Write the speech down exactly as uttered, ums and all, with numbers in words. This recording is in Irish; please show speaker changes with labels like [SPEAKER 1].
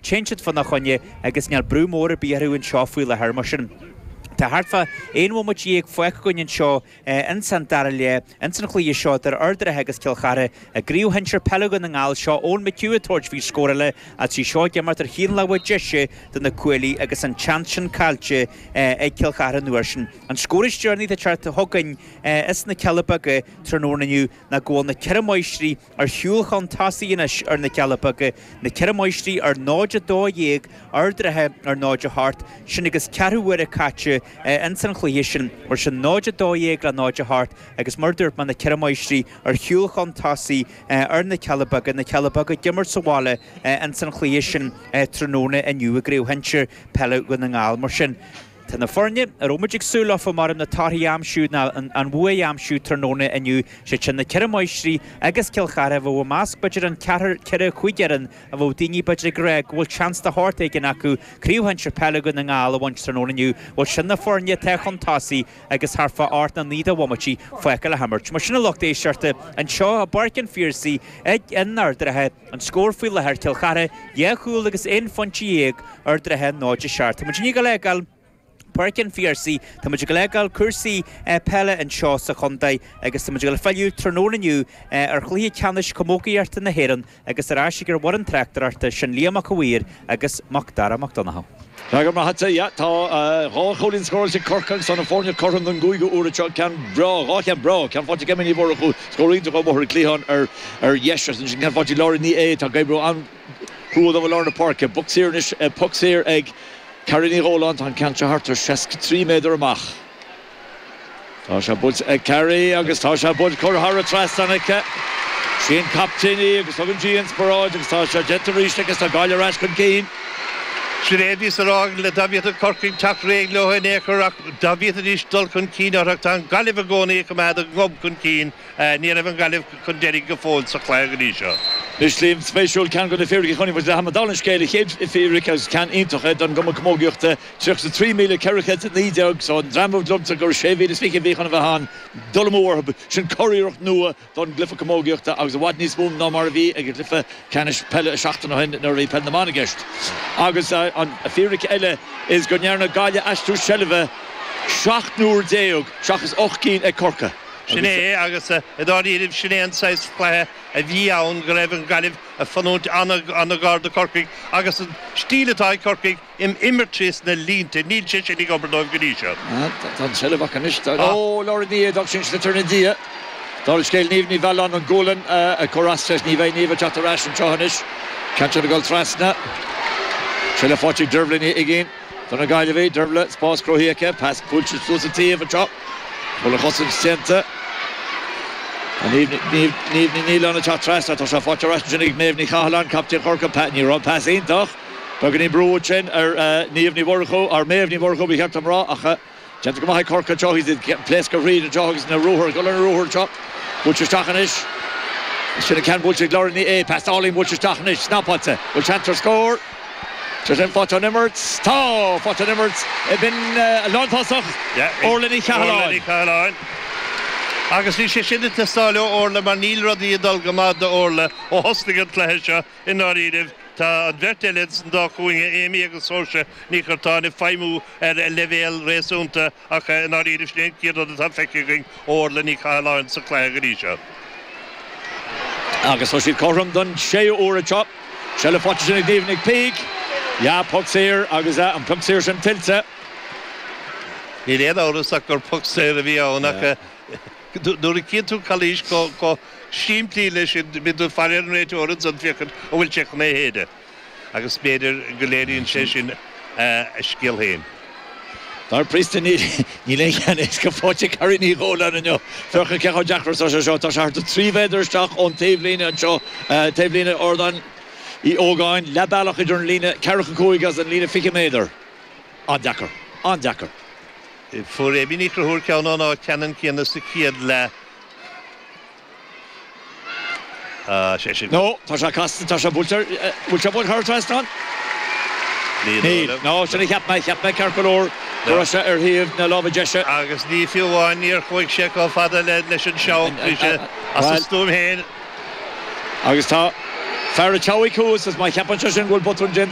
[SPEAKER 1] Téann siad fána choinne agus níl brú mór ar bith orthu anseo faoi láthair mar sin. Tá thart fá aon bhomaite déag fágtha againn anseo ins an dara leath, ins an chluiche seo idir Ard an Rátha agus Cill Chartha i gCraobh Shinsir Peile Dhún na nGall. Seo Eoin McHugh ag tabhairt faoi scór eile ach í seo ag imirt ar thaobh na láimhe deise do na cuaillí agus an tseans sin caillte ag Cill Chartha an uair sin. An scór is deireanaí atá ag teacht chugainn as na Cealla Beaga tráthnóna inniu ná go bhfuil na Ceithre Máistrí ar shiúl chun tosaigh anois ar na Cealla Beaga, na Ceithre Máistrí ar náid a dó dhéag, Ard an Rátha ar náid a hocht, sin agus ceathrú uaire caite ins an chluiche sin, mar sin náid a dó dhéag le náid a hocht agus mar dúirt mé na Ceithre Máistrí ar shiúl chun tosaigh ar na Cealla Beaga, na Cealla Beaga ag imirt sa bhaile ins an chluiche sin tráthnóna inniu i gCraobh Shinsir Peile Dhún na nGall. Mar sin. Tá na foirne a raibh muid ag súil leofa mar na torthaí a aimsiú ná an bhua a aimsiú tráthnóna inniu, siad sin na Ceithre Máistrí agus Cill Chartha a bheadh i measc b'fhéidir an ceathrar, ceithre, cúig fhoireann a bheadh daoine b'fhéidir ag rá go bhfuil seans de shórt éigin acu Craobh Shinsir Peile Dhún na nGall a bhaint tráthnóna inniu. Bhuel sin na foirne atá chun tosaigh agus thart fá ocht nó naoi de bhomaití fágtha le himirt. Mar sin a lucht éisteachta, anseo i bPáirc an Phiarsaigh ag in Ard an Rátha, an scór faoi láthair, Cill Chartha dhá chúl agus aon phointe dhéag, Ard an Rátha náid a seacht. Tá muid i ndiaidh a fhágáil Páirc an Phiarsaigh, tá muid ag fágáil cúrsaí peile anseo sa chontae agus tá muid ag filleadh tráthnóna inniu ar chluiche ceannais camógaíochta na hÉireann agus ar ais ag an bhfoireann tráchtaireachta, sin Liam Mac a' Mhaoir agus Mac Dara Mac Donncha.
[SPEAKER 2] Tá go maith agat, yeah. Tá dhá chúilín scóráilte ag Corcaigh agus tá na foirne cothrom don gcúigiú uair anseo. Ceann breá, dhá cheann breá, ceann faighte ag Emma Ní Mhurchú, scór iontach ó bhóthar an chliatháin ar ar dheis agus ansin ceann faighte ag Lauren Ní Aodha atá ag oibriú an-chrua dóibh i lár na páirce. Poc saor anois, poc saor ag Carrie Ní Dhóláin, tá an ceann seo thart ar seasca trí méadar amach. Tá sé buailte ag Carrie agus tá sé buailte curtha thar an trasnán aici. Sí an captaen í agus tugann sí inspioráid agus tá sé déanta arís aici agus tá Gaillimh ar ais chun cinn.
[SPEAKER 3] Sin é a bhíos a rá le dá bhféadfadh Corcaigh teacht réidh leo in aon chor ach dá bhféadfaidís dul chun cinn orthu ach tá an Ghaillimh i gcónaí ag coimeád a ngob chun cinn. Ní raibh an Ghaillimh chun deiridh go fóill sa chluiche go dtí seo.
[SPEAKER 2] Anois Liam, spéisiúil, ceann de na fíricí a chonaic muid le tamall, dála an scéil, an chéad fhíric agus ceann iontach é don gCumann Camógaíochta, tríocha a trí míle ceithre chéad is a naoi déag, so an dream a liomsa gur sé mhíle is fiche a bhí chun a bheith ann, dul amú orthu, sin curiarracht nua don gcluiche camógaíochta agus i bhfad níos mó ná mar a bhí ag an gcluiche ceannais peile seachtain ó shin nuair a bhí peil na mban i gceist. Agus an fíric eile is go ndearna Gaillimh aistriú seilbhe seacht n-uair déag seachas ocht gcinn ag Corcaigh.
[SPEAKER 3] Sin é agus i ndáiríribh sin é an saghas cluiche a bhí ann go raibh an Ghaillimh ag fanúint an-ghar do Chorcaigh agus an stíl atá ag Corcaigh im imirt síos na línte, níl sé sin ag obair dóibh go dtí seo.
[SPEAKER 2] Tá an tseilbh acu anois. Ó, Lauren Ní Aodha, sin sliotar ina diaidh. Dála an scéil, Niamh Ní Mhealláin an gualainn ag cur as leis. Ní bheidh Niamh ag teacht ar ais anseo anois. Ceann sin ag dul trasna. Seilbh faighte ag Dervla Ní Uiginn do na Gaillimhigh. Dervla, spás cruthaithe aici. Pas buailte suas an taobh anseo. Bhfuil an chosaint déanta? Tá Niamh Ní Nialláin ag teacht trasna. Tá sé faighte ar ais ansin ag Méabh Ní Chathalláin, captaen Chorcaí. Ní raibh an pas iontach. Beagáinín brú ansin ar Niamh Ní Mhurchú, ar Méabh Ní Mhurchú ba cheart dom rá, ach déanta go maith ag Corcaigh anseo. Iad ag pléascadh thríd anseo agus na ruathair, ag dul ar na ruathair anseo. Buailte isteach anois. Sin an ceann buailte ag Lauren Ní Aodha. Pas álainn buailte isteach anois. Snapáilte. Bhfuil seans ar scór? Tá sin faighte ón imirt. Tá! Faighte ón imirt. B'in lántosach Orla Ní Chathalláin.
[SPEAKER 3] Orla Ní Chathalláin. Agus bhí sé sin ag teastáil ó Orla mar níl rudaí ag dul go maith do Orla ó thosnaigh an cluiche seo i ndáiríribh. Tá an bheirt eile san dá chúinne, Amy agus Saoirse Ní Churtáin, ag feidhmiú ar leibhéal réasúnta ach i ndáiríribh sin é an chéad rud atá feicthe againn ó Orla Ní Chathalláin sa chluiche go dtí seo.
[SPEAKER 2] Agus tá siad cothrom don séú huair anseo. Seilbh faighte ansin ag Niamh Nic Píc. Yeah, poc saor agus an poc saor sin tuillte.
[SPEAKER 3] Níl aon amhras ach gur poc saor a bhí ann ach nuair a chíonn tú calaois chomh simplí leis sin, bíonn tú ag faire ar an réiteoir ansan féachaint an bhfuil sé chun é a shéideadh. Agus b'fhéidir go léiríonn sé sin a scéal féin.
[SPEAKER 2] Dar príosta, níl aon cheann éasca faighte ag Carrie Ní Dhóláin inniu. Féach cé chomh deacair is atá sé seo. Tá sé thart ar trí mhéadar isteach ón taobhlíne anseo, taobhlíne Ardán Uí Ógáin, leath bealach idir an líne ceathracha cúig agus an líne fiche méadar. An-deacair. An-deacair.
[SPEAKER 3] Fuair Amy Ní Chonchúir ceann ón áit cheannann céanna sa chéad leath. Sé sin.
[SPEAKER 2] No, tá sé casta, tá sé buailte, bhfuil sé buailte thar an trasnán? Níl. No, sin a cheap mé, cheap mé ceart go leor go raibh sé ar thaobh na láimhe deise.
[SPEAKER 3] Agus ní fiú amháin, níor chuaigh sé chomh fada leis an seabhac, bhí sé as a stuaim féin.
[SPEAKER 2] Agus tá Fear an tSeabhaic thuas is má cheapann sé sin go bhfuil botún déanta.